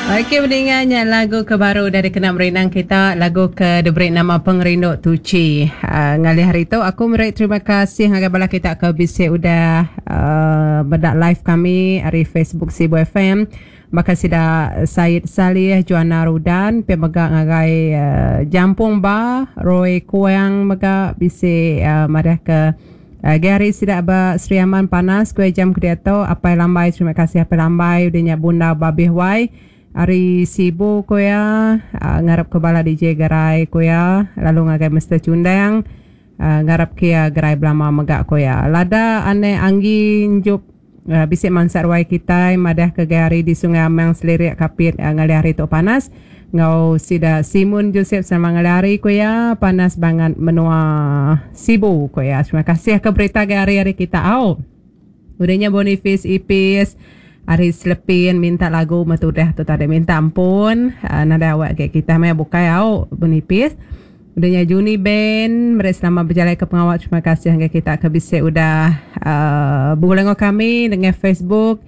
Okey peninga nya lagu ke baru udah dikena merindang kita lagu ke diberi nama Pengerindu Tuchi. Uh, ngalih hari tu aku meri terima kasih ngagai bala kita ke bisi udah uh, meda live kami ari Facebook Sibu FM. Baka sida Said Salih, Joanna Rudan, pia mega ngagai uh, Jampung Ba, Roy Kuang mega bisi uh, madah ke Agi hari sida ba Sri Aman panas ku iya jam ke diatu. Apai Lambai terima kasih Apai Lambai udah nya Bunda Babih Wai ari Sibu ku iya ngarap ke bala DJ gerai ku iya lalu ngagai Mister Chundang ngarap ke iya gerai belama mega ku iya. Lada Anek Anggi Njup bisi mansa ruai kitai madah ke gai hari di Sungai Amang Selirik Kapit ngalih hari tu panas. Enggau sida Simun Joseph sama ngalih hari ku iya panas bangat menua Sibu ku iya. Terima kasih ke berita agi hari ari kita au. Udah nya Boniface Ipis ari Selepin minta lagu metudah tu tadi minta ampun nadai awak agi kita maya bukai au Boniface. Udah nya Juni Ben meri selamat bejalai ke pengawa terima kasih ngagai kita ke bisi udah uhh begulai enggau kami nengah Facebook.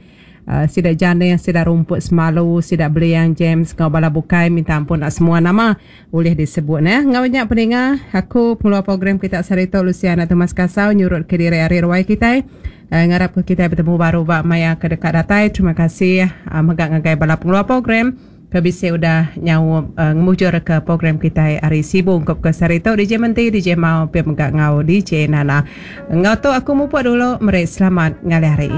Sida Janih, sida Rumput Semalu, sida Beliang James enggau bala bukai minta ampun enda semua nama ulih disebut neh. Enggau nya peninga aku pengeluar program kita sehari tu Lucia anak Thomas Kasau nyurut ke diri ari ruai kitai. Ngarap ke kitai betemu baru ba maya ke deka datai. Terima kasih mega ngagai bala pengeluar program. Ke bisi udah nyaup ngemujurka program kitai ari Sibu ungkup ke sehari tu DJ Menti, DJ Mau pia mega enggau DJ Nana. Enggau tu aku mupuk dulu meri selamat ngalih hari.